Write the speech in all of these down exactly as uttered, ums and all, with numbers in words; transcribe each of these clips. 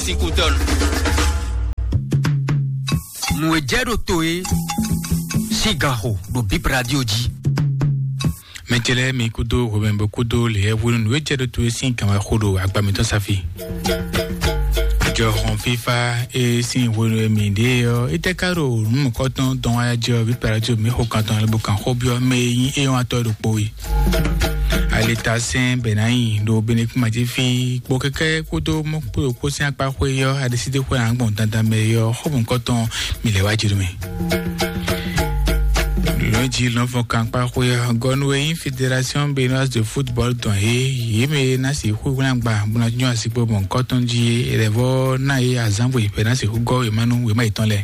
Ikutɔnu. Nǔ e jɛ ɖo to e sín ganxo ɖo Bib Radio jí. Mɛtɛlɛ mi kúdó hwemɛbo kúdó lěyɛ́hwenu nǔ e jɛ ɖo to e sín gǎnwáxó ɖo agba mǐtɔn safi. Jɔhɔn fífá e sín hwenu e mǐ ɖe ɔ́, é tɛ́ ká ɖo nǔ mɔ̌kɔtɔn dɔn wá jí ɔ́, Bib Radio mǐ xo kan tɔn lɛ́ bó kan xó byɔ́ mɛ e nyí é nyɔ́watɔ́ ɖokpó é. Alitasɛn Bɛnáyi ɖo Benekúmajífí kpo kɛkɛ kpódó mɔkpóɖokpó sín akpá xwé ɔ́, aɖisídéxwé agbɔn dandan mɛ ɔ́, xɔ́bùnkɔtɔn mi lɛ́ wá jǐ nú mì. Lɔ̌njì lɔ̌nfɔn kankpá xwé ɔ́, gɔnu e nyí Fédération Béninoise de Football tɔn é, yě mɛ e ná sixú hwlɛ́n agba bó ná nyɔ́ asikpo mɔ̌hunkɔtɔn jí é, è lɛ̌ vɔ́ ná yě azǎn bɔ è ná sixú gɔ́ wěma nú wěma yětɔn lɛ́ɛ.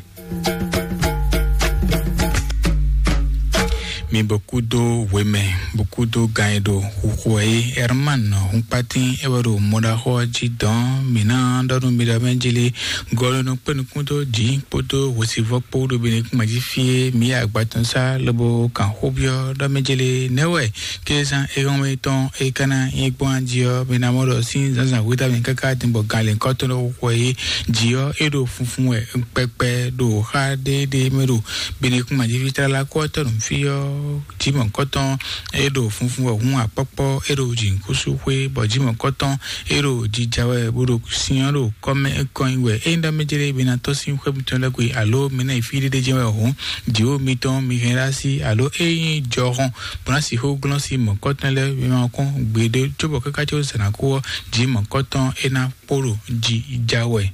Mi bɔ kúdó hwemɛ, bɔ kúdó gan e ɖo xuxu wɛ é. Herman Hunkpatín é wɛ ɖo mɔɖaxó ɔ́ jí dɔn. Mǐ ná ɖɔ nú mi ɖɔ mɛ jélé gɔlɔnɔ kpé nukún dó jǐ kpódó hwesivɔ́ kpó ɖo Benekúmají fí é. Mǐ yi agbatɔnsá lobo kan xó byɔ́ ɖɔ mɛ jélé nɛ́ wɛ kézán éhɔ́nmɛ tɔn é ka ná nyí gbɔn jí ɔ́, mi ná mɔ ɖɔ sín zǎnzǎn hwetɔ́ mɛ káká din bɔ gan lěhunkɔtɔn ɖo xwɛ é jí ɔ́, é ɖo funfun wɛ kpɛkpɛ ɖo xá ɖéɖé mɛ ɖo Benekúmají fí tlala kó ɔ́ tɔ́ nǔ fí ɔ́, jǐmɔ̌kɔtɔn é ɖo funfun wɛ hǔn akpɔ́kpɔ́ é ɖo jǐnukúnsin xwé, bɔ jǐmɔ̌kɔtɔn é ɖo jija wɛ bó ɖo sin ɔ́ ɖo kɔ́mɛ kɔn nyi wɛ. Ényí ɖɔ mɛ jlé mi ná tɔ́n sín xwé mitɔn lɛ́ɛ gbe, alo mi ná yi fí ɖéɖé jɛ́n wɛ hǔn, jǐwó mitɔn mi hɛn ɖó así, alo ényí jɔhɔn bó ná sixú glɔ́n sín mɔ̌kɔtɔn lɛ́ɛ mi ma kɔn gbeɖé, cóbɔ káká có zǎn ná kú ɔ́, jǐ mɔ̌kɔtɔn é ná kpo ɖo jija wɛ.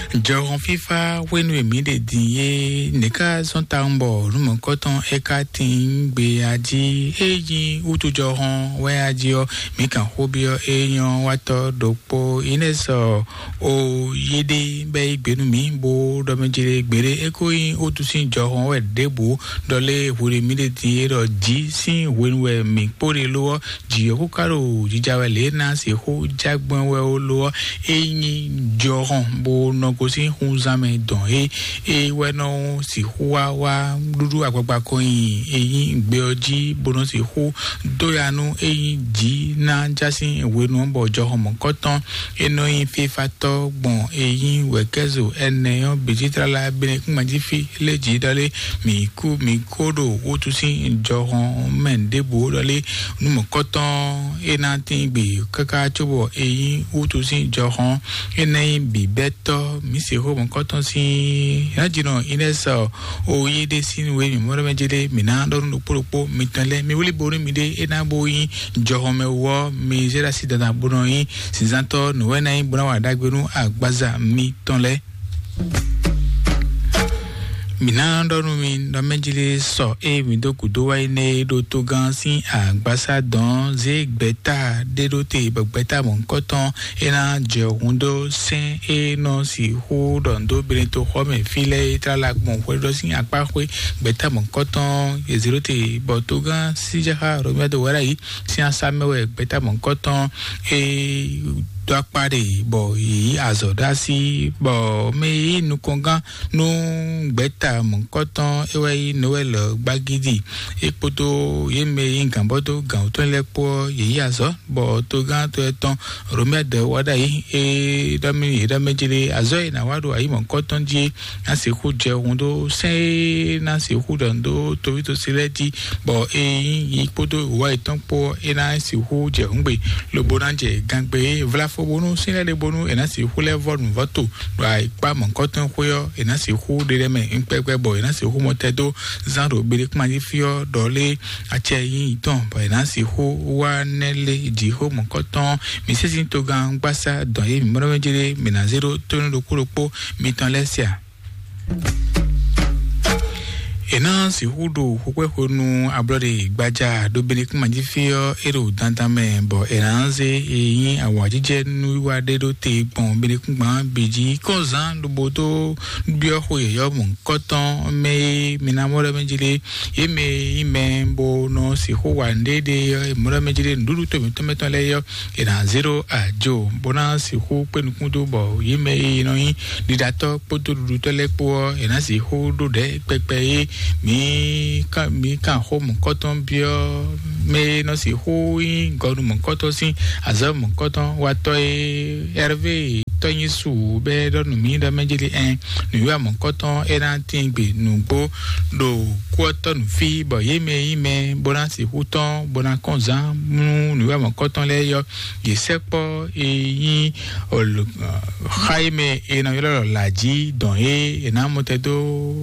Jɔhɔn fífá hwenu e mǐ ɖe din é, nɛ̌ ká zɔ́n tawun bɔ nǔ mɔ̌kɔtɔn é ká tín gbe a jí? É nyí wútu jɔhɔn wɛ a jí ɔ́, mǐ kan xó byɔ́ é nyɔ́ watɔ́ ɖokpó Inɛ́sɔ o yéɖé bɛ́ yí gbe nú mǐ, bó ɖɔ mɛ jlé gbeɖé é kó nyí wútu sín jɔhɔn wɛ ɖěbǔ. Ɖɔ lé hwenu e mǐ ɖe din é ɖɔ jǐ sín hwenu wɛ mǐ kpó ɖe lo ɔ́, jǐ ɔ́ kó ka ɖo jija wɛ lě e ná sixú jágbɔ́n wɛ ó lo ɔ́, é nyí jɔhɔn bó nɔ gosín xunzán mɛ dɔn é, é wɛ nɔ sixú wá wá ɖúɖú agbagba kɔn nyi é nyí gbe ɔ́ jí, bó nɔ sixú dó ya nú é nyí jǐ ná já sín hwenu ɔ́, bɔ jɔhɔn mɔ̌kɔtɔn é nɔ nyí fífátɔ́ gbɔn é nyí wɛ̌kɛ́zo ɛnɛ ɔ́ bǐ jí tlala Benekúmají fí lé jǐ ɖɔ lé, mǐ kú mǐ kó ɖo wútu sín jɔhɔn mɛ ɖěbǔ ɖɔ lé, nú mɔ̌kɔtɔn é ná tín gbe káká cóbɔ é nyí wútu sín jɔhɔn é ná nyí bǐbɛ́tɔ́. Mǐ se xó mɔ̌kɔtɔn sín Nǎjínɔ Inɛ́sɔ o yí ɖé sín nú we mǐ mɔ ɖɔ mɛ jé ɖé, mǐ ná ɖɔ nú ɖokpó ɖokpó mitɔn lɛ́ɛ, mi wlí bo nú miɖée é ná bó nyí jɔhɔn mɛ wú ɔ́, mi zé ɖó así dandan bó nɔ nyí zǐnzántɔ́ nǔwɛ́ná nyí bó ná wa ɖagbe nú agbaza mitɔn lɛ́ɛ. Mǐ ná ɖɔ nú mi ɖɔ mɛ jí lé sɔ ée mǐ dó gǔdo wá yi nɛ́ é ɖó tógán sín agbásá dɔn zé gbɛ̌ta ɖé ɖó te, bɔ gbɛ̌ta mɔ̌hunkɔtɔn é ná jɛ hun dó sɛ́n é nɔ sixú ɖɔ dó Benetoxɔmɛ fí lɛ́ɛ é tlala gbɔn hwɛɖɔ́ sín akpá xwé. Gbɛ̌ta mɔ̌hunkɔtɔn yě zé ɖó te, bɔ tógán síjáxá Romɛ́ dó wá ɖ'ayǐ sín asá mɛ wɛ gbɛ̌ta mɔ̌hunkɔtɔn é dó akpá ɖe, bɔ yě yí azɔ̌ ɖó así, bɔ mɛ e yí nukɔngán nú gbɛ̌ta mɔ̌hunkɔtɔn é wɛ nyí Nowɛ́li gbagídi. É kpódó yě mɛ e nyí gǎnbɔ́dó gǎn wútɔn lɛ́ɛ kpó ɔ́, yě yí azɔ̌, bɔ togán to etɔn Romɛ́ dɛ̌ wá ɖ'ayǐ. É ɖɔ mì yě ɖɔ mɛ jlé azɔ̌ e è nǎ wa ɖo ayǐ mɔ̌hunkɔtɔn jí é ná sixú jɛ hun dó sɛ́n e ná sixú ɖɔ dó toví tosi lɛ́ɛ jí, bɔ é nyí yi kpódó wǔwá yětɔn kpó ɔ́, é ná sixú jɛ hǔngbe, lobo ná jɛ gangbe e vlá fó bónú sínlɛ́ ɖé bónú è nǎ sixú lɛ́ vɔ́ nǔvɔ́ to ɖo ayǐkpá mɔ̌hunkɔtɔn xwé ɔ́, è nǎ sixú ɖe lɛ́ mɛ kpɛkpɛ, bɔ è nǎ sixú mɔ tɛ́ dó zán ɖo Beɖekúmají fí ɔ́ ɖɔ lé acɛ nyí tɔn, bɔ è nǎ sixú wá nɛ́ lé jǐxó mɔ̌hunkɔtɔn. Mǐ sísí togán gbásá dɔn e mǐ mɔ ɖɔ mɛ jlé mǐ ná zé ɖó tónú ɖokpó ɖokpó mitɔn lɛ́ɛ sia. È nǎ sixú ɖo xwekpɛ́xwenu ablɔɖe gbaja ɖo Beɖekúmají fí ɔ́, é ɖo dandan mɛ, bɔ è nǎ zé e nyí awǎjijɛ nú wiwa ɖé ɖó te gbɔn Beɖekúngban bǐ jí kɔnzán lobo dó byɔ́ xwe yɔ̌yɔ́ mɔ̌hunkɔtɔn mɛ e mi ná mɔ ɖɔ mɛ jí lé. Yě mɛ e nyí mɛ bó nɔ sixú wa nǔɖéɖé ɔ́, è mɔ ɖɔ mɛ jí lé nǔɖuɖu to mǐtɔn mɛ tɔn lɛ́ɛ ɔ́, è nǎ zé ɖó ajo, bó ná sixú kpé nukún dó, bɔ yě mɛ e nɔ nyí ɖiɖatɔ́ kpódó ɖuɖutɔ́ lɛ́ɛ kpó ɔ́, è nǎ sixú ɖó ɖɛ̌ kpɛkpɛ e Mǐ kan mǐ kan xó mɔ̌kɔtɔn byɔ́ mɛ e nɔ sixú nyí gɔnu mɔ̌kɔtɔn sín azɔ̌ mɔ̌kɔtɔn watɔ́ e Hervé tɔ́ nyi su bɛ́ ɖɔ nǔ mì ɖɔ mɛ jeli ɛn nǔwiwa mɔ̌kɔtɔn é ná tín gbe nǔgbó ɖo kú ɔ́ tɔ́ nǔ fí, bɔ yě mɛ e nyí mɛ bó ná sixú tɔ́n bó ná kɔn zán nú nǔwiwa mɔ̌kɔtɔn lɛ́ɛ yɔ. Yě sɛkpɔ́ e nyí xa e mɛ è nɔ ylɔ́ ɖɔ lǎjí dɔn é è nǎ mɔ tɛ́ dó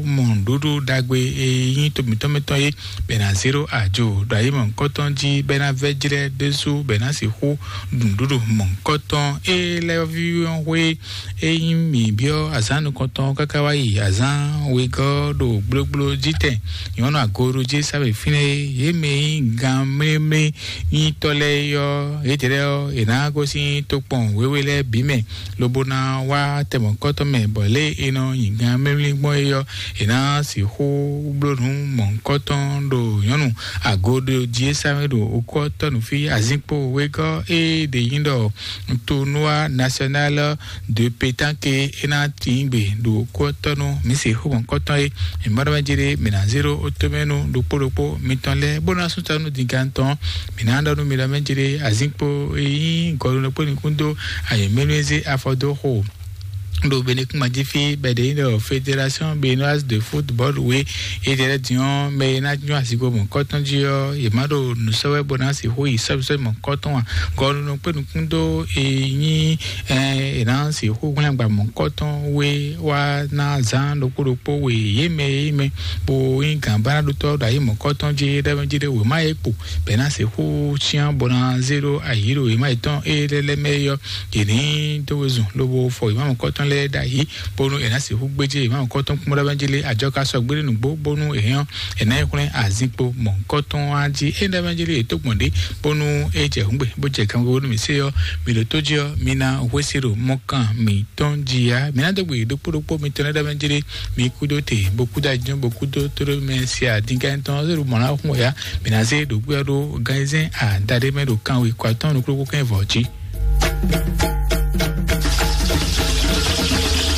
mɔ nǔɖuɖu ɖagbe e nyí to mǐtɔn mɛ tɔn é, bɔ è nǎ zé ɖó ajo ɖo ayi mɔ̌hunkɔtɔn jí, bɔ é ná vɛ́ jlɛ́ ɖésú, bɔ è nǎ sixú ɖu nǔɖuɖu mɔ̌hunkɔtɔn. É lɛ́ ví ɔ́ xwé é nyí mǐ byɔ́ azǎn nukɔntɔn káká wá yi azǎn wegɔ́ ɖo gblógbló jí tɛn. Nyɔ̌nu agoɖují sábɛ fínɛ́ é, yě mɛ e nyí gan mlémlé nyitɔ́ lɛ́ɛ é ɔ́, yědɛɛ ɔ́, è nǎ gosín tokpɔn wěwe lɛ́ɛ bǐ mɛ, lobo ná wá tɛmɔ̌kɔ́tɔ́ mɛ, bɔ lě e è nɔ nyi gan mɛ́mlí gbɔn é ɔ́, è nǎ sixú bló nǔ mɔ̌hunkɔtɔn ɖo nyɔ̌nu agoɖojí e sá mɛ ɖo okú ɔ́ tɔ́ nǔ fí. Azinkpo wegɔ́ e ɖě nyí ɖɔ tournoi national de pétanque é ná tín gbe ɖo okú ɔ́ tɔ́ nú mǐ sixú mɔ̌hunkɔtɔn é. Mǐ ma ɖɔ mɛ jí ɖé, mǐ ná zé ɖó ótomɛnu ɖokpó ɖokpó mitɔn lɛ́ɛ, bó ná sú ta nú dingantɔn. Mǐ ná ɖɔ nú mi ɖɔ mɛ jí ɖé, azinkpo e nyí gɔɖunɔkpó nukún dó ayǐmɛ́núzé afɔ dó xo ɖo Benekúnma jí fí, bɔ è ɖe nyí ɖɔ Fédération Béninoise de Football we é ɖe lɛ́ din ɔ́, mɛ e ná nyɔ́ azinkpo mɔ̌kɔtɔn jí ɔ́, yě má ɖo nǔ sɔ́ wɛ bó ná sixú yi sɔ́bisɔ́bi mɔ̌kɔtɔn ǎ. Gɔɖunɔkpó nukún dó e nyí ɛ è nǎ sixú hwlɛ́n agba mɔ̌kɔtɔn we wá ná zán ɖokpó ɖokpó we yě mɛ e nyí mɛ bó nyí gǎnbánaɖótɔ́ ɖo ayǐ mɔ̌kɔtɔn jí é ɖɔ mɛ jí ɖé wěma e kpo bɔ è nǎ sixú cyán bó ná zé ɖó ayǐ ɖo wěma yětɔn e lɛ́ lɛ́ mɛ é ɔ́, yě ní dó wezun lobo fɔ wěma mɔ̌kɔtɔn lɛ́ɛ ɖ'ayǐ, bónú è nǎ sixú gbéjé wěma mɔ̌kɔtɔn kún bó ɖɔ mɛ jí lé ajɔ ka sɔgbe ɖé nǔgbó, bónú è hɛn ɔ́, è nǎ yi hwlɛ́n azinkpo mɔ̌kɔtɔn á jí. É ɖɔ mɛ jí lé è tó gbɔn ɖě, bónú é jɛ hǔngbe bó jɛ kanwe bónú mǐ sé ɔ́, mǐ ɖo tó jí ɔ́, mi ná hwesí ɖo mɔkàn mǐtɔn jí á. Mǐ ná dó gbe ɖokpó ɖokpó mitɔn lɛ́ɛ ɖɔ mɛ jí lé, mi kúdó te, bó kúdó ajínjɔ́n, bó kúdó tóɖó mɛ se adíngán tɔn ɔ́, ɖo mɔ̌ ná xún wɛ á. Mǐ ná zé ɖo gbé ɔ́ ɖó ganyizɛ́n adaɖé mɛ ɖo kanwe kɔ atɔ́ɔ́n nukúnnú kɛ́n vɔ̌ jí.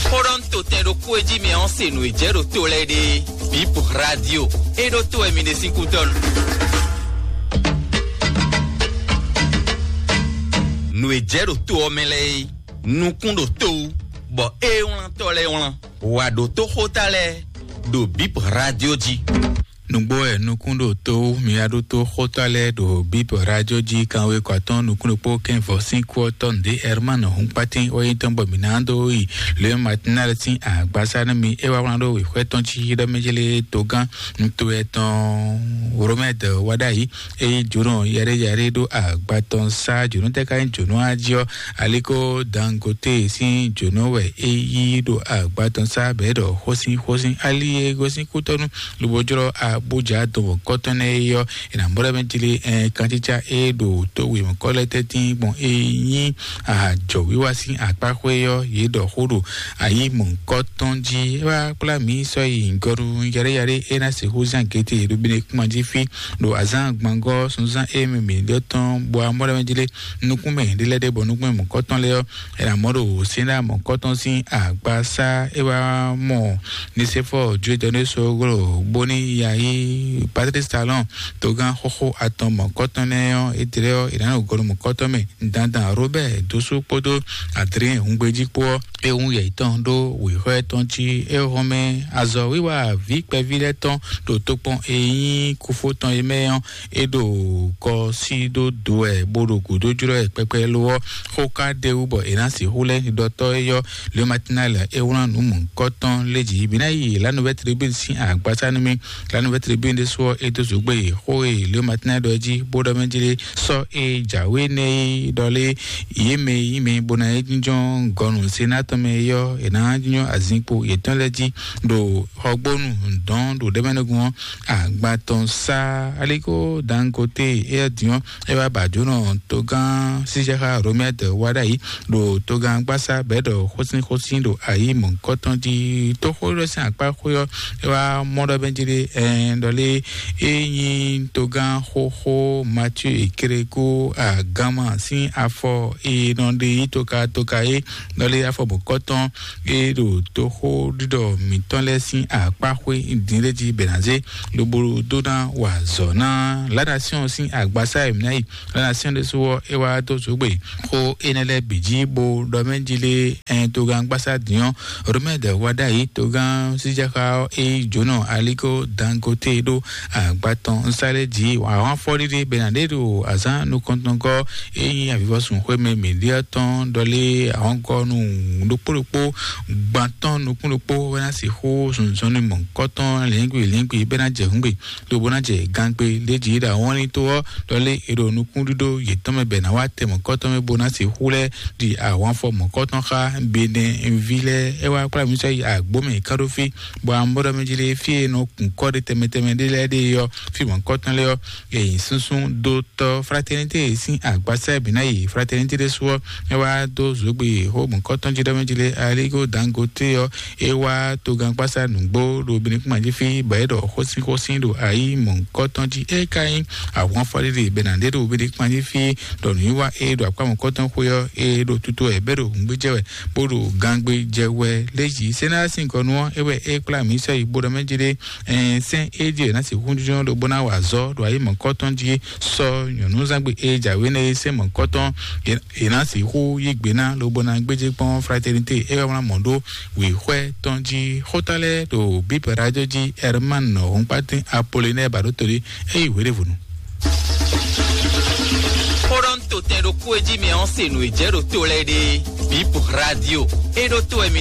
Xóɖɔ́ntotɛn ɖokpó e jí mɛ ɔ́ se nǔ e jɛ ɖo to lɛ́ɛ ɖe. Bip Radio e ɖo to wɛ mi ɖe sín kútɔ́ nu. Nǔ e jɛ ɖo to ɔ́ mɛ lɛ́ɛ é, nukún ɖo to wú, bɔ é wlántɔ́ lɛ́ɛ wlán. Wǎ ɖótó xóta lɛ́ɛ ɖo Bip Radio jí. Nǔgbó wɛ nukún ɖo to wú, mi wá ɖótó xóta lɛ́ɛ ɖo Bip Radio jí. Kanwe kɔ atɔ́ɔ́n nukún ɖokpó kɛ́n vɔ̌ sín kú ɔ́ tɔ́ nǔɖé Herman Húnkpátín wɛ nyí tɔn, bɔ mǐ ná dó yi Le Matinal sín agbasá nú mi. É wá wlán ɖó wěxwɛ́ tɔn jí ɖɔ mɛ jí lé togán nto etɔn Romɛd wá ɖ'ayǐ. Eye jǒnɔ yɛɖéyɛɖé ɖó agba tɔn sá jǒnɔ tɛ́ ká nyí jǒnɔ á jí ɔ́, aliko Dangote sín jǒnɔ wɛ é yí ɖo agba tɔn sá bɛ̌ ɖɔ xósín xósín ali e gosín kútɔ́nú lobo jlɔ́ Abuja dɔn kɔ́tɔn nɛ́ é ɔ́, è nǎ mɔ ɖɔ mɛ jlé ɛ kancícá e ɖo tó wěmɔkɔ lɛ́ɛ tɛ́ntin gbɔn é nyí ajɔ̌wiwa sín akpáxwé ɔ́, yě ɖɔ xó ɖo ayǐ mɔ̌hunkɔtɔn jí. É wá kplá mǐ sɔ́ yi gɔnu yaɖéyaɖé é ná sixú zán gete ɖo Benekúnma jí fí ɖo azǎn gbangɔ́ sunzán e mɛ mǐ ɖɔ tɔn bɔ amɔ́ ɖɔ mɛ jí lé nukún mɛ ɖé lɛ́ɛ ɖé bɔ nukún mɛ mɔ̌kɔtɔn lɛ́ɛ ɔ́, è nǎ mɔ ɖo sɛ́nɖá mɔ̌kɔtɔn sín agbasá. É wá mɔ Nisefɔ Judɔ́ Soglo bóní yayi Patrice Talon togán xóxó atɔn mɔ̌kɔtɔn nɛ́ ɔ́, é tlɛ ɔ́, è nǎ nɔ gɔnu mɔ̌kɔtɔn mɛ dandan Robert Dosu kpódó Adrien Hungbeji kpó ɔ́, é hun yɛ yětɔn ɖó wěxɔ tɔn jí. É hɔn mɛ azɔ̌wiwa vǐ kpɛví lɛ́ɛ tɔn ɖo tokpɔn e nyí kúfó tɔn é mɛ ɔ́, é ɖo kɔ sí ɖó do wɛ bó ɖo gǔdo jlɔ́ wɛ kpɛkpɛ lo ɔ́, xó ka ɖ'é wú bɔ è nǎ sixú lɛ́ ɖɔtɔ́ éyɔ́ Le Matinal é wlán nǔ mɔ̌hunkɔtɔn lé jí. Mǐ ná yi La Nouvelle Tribune sín agbasá nú mì. La Nouvelle Tribune ɖésú ɔ́, é dó zǒgbé xó e Le Matinal ɖɔ jí bó ɖɔ mɛ jí lé sɔ́ e jǎwe nɛ́ é ɖɔ lé yě mɛ e nyí mɛ bó ná é jínjɔ́n gɔnu Senat tɔn mɛ é ɔ́, è nǎ jínjɔ́n azinkpo yětɔn lɛ́ɛ jí ɖo xɔgbónu dɔn ɖo ɖɛ̌mɛnúgun ɔ́, agban tɔn sá aliko Dangote é ɔ́ din ɔ́, é wá ba jǒnɔ togán sísɛ́xá Romɛd wá ɖ'ayǐ ɖo togán gbásá bɛ̌ ɖɔ xósínxósín ɖo ayǐ mɔ̌hunkɔtɔn jí. Tóxó ɖɔ sín akpá xwé ɔ́, é wá mɔ ɖɔ bɛ́ jí ɖé ɛ Ɖɔlé é nyí togán xóxó Mathieu Ekereko Agama sín afɔ e nɔ ɖe yí toka toka é. Ɖɔlé afɔ bɔ̌kɔ́tɔn é ɖo toxó ɖiɖɔ mǐtɔn lɛ́ɛ sín akpáxwé dǐnɖéji bɛ̌nazé lobo dó ná wa azɔ̌ ná La Nation sín agbasá e mǐ ná yi. La Nation ɖésú ɔ́, é wá dó zǒgbé xó énɛ́ lɛ́ɛ bǐ jí bó ɖɔ mɛ jí lé ɛn togán gbasá dǐn ɔ́, Romain de Wadayi togán síjáxá ɔ́, é yí jǒnɔ Aliko Dangote ɖó agba tɔn nsálé jí. Àwọn afɔɖiɖi bɛnadé ɖo azán nukɔntɔnkɔ é nyí avivɔsun xwémɛ mǐɖíɔ tɔn ɖɔlé àwọn gɔnu ɖokpó ɖokpó gbantɔn nukún ɖokpó wɛ ná sixú zɔnzɔnnu mɔ̌kɔtɔn lǐngbi lǐngbi bɛ ná jɛ hǔngbe lobo ná jɛ gangbe ɖé jí ɖo awɔnlin tó ɔ́, ɖɔlé è ɖo nukúnɖíɖó yětɔn mɛ bɛ ná wá tɛ mɔ̌kɔtɔn mɛ bó ná sixú lɛ́ ɖi ahwanfɔ mɔ̌kɔtɔn xá Benɛví lɛ́ɛ. É wá kplá mǐ sɔ́ yi agbǒ mɛ ká ɖó fí, bɔ amɔ̌ɖɔmɛ jí lé fí e nɔ kun kɔ́ ɖé tɛnmɛ tɛnmɛ ɖé lɛ́ɛ ɖe ɔ́, fí mɔ̌kɔtɔn lɛ́ɛ ɔ́, yě nyi súnsún dó tɔ́ Fraternité sín agbasá e bǐ ná yi Fraternité ɖésú ɔ́, é wá dó zǒgbe xó mɔ̌kɔtɔn jí ɖɔmɛ jí lé Aliko Dangote ɔ́, é wá togán gbasá nǔgbó ɖo Benɛkúma jí fí, bɔ é ɖɔ xósínxósín ɖo ayǐ mɔ̌kɔtɔn jí. É ka nyí ahwanfɔɖiɖi bɛ ná ɖe ɖo Benɛkúma jí fí, ɖɔ nǔwiwa e ɖo akpá mɔ̌kɔtɔn xwé ɔ́, é ɖo tutu wɛ bɛ ɖo hǔngbéjɛ wɛ, bó ɖo gangbé jɛ wɛ lé jí. Sɛnɛ́ sín gɔnu ɔ́, é wɛ é kplá mǐ sɔ́ yi bó ɖɔ mɛ jí ɖé, ɛn sɛn é jí è nǎ sixú jínjɔ́n lobo ná wa azɔ̌ ɖo ayǐ mɔ̌kɔtɔn jí sɔ́ nyɔ̌núzangbe e jǎwe nɛ́ é sɛn mɔ̌kɔtɔn è nǎ sixú yí gbe ná lobo ná gbéjé kpɔ́n Fraternité é wá wlán mɔ̌ ɖó wěxwɛ́ tɔn jí. Xóta lɛ́ɛ ɖo Bíbɛ́ rájɔ jí Herman Hɔnkpátín Apolinɛ́ɛ Baɖótolí é yi hwěɖěvɔnu. Xó ɖɔ ń to tɛn ɖokpó e jí mɛ ɔ́ se nǔ e jɛ ɖo to lɛ́ɛ ɖe. Bíbɛ́ rádio é ɖó to wɛ mi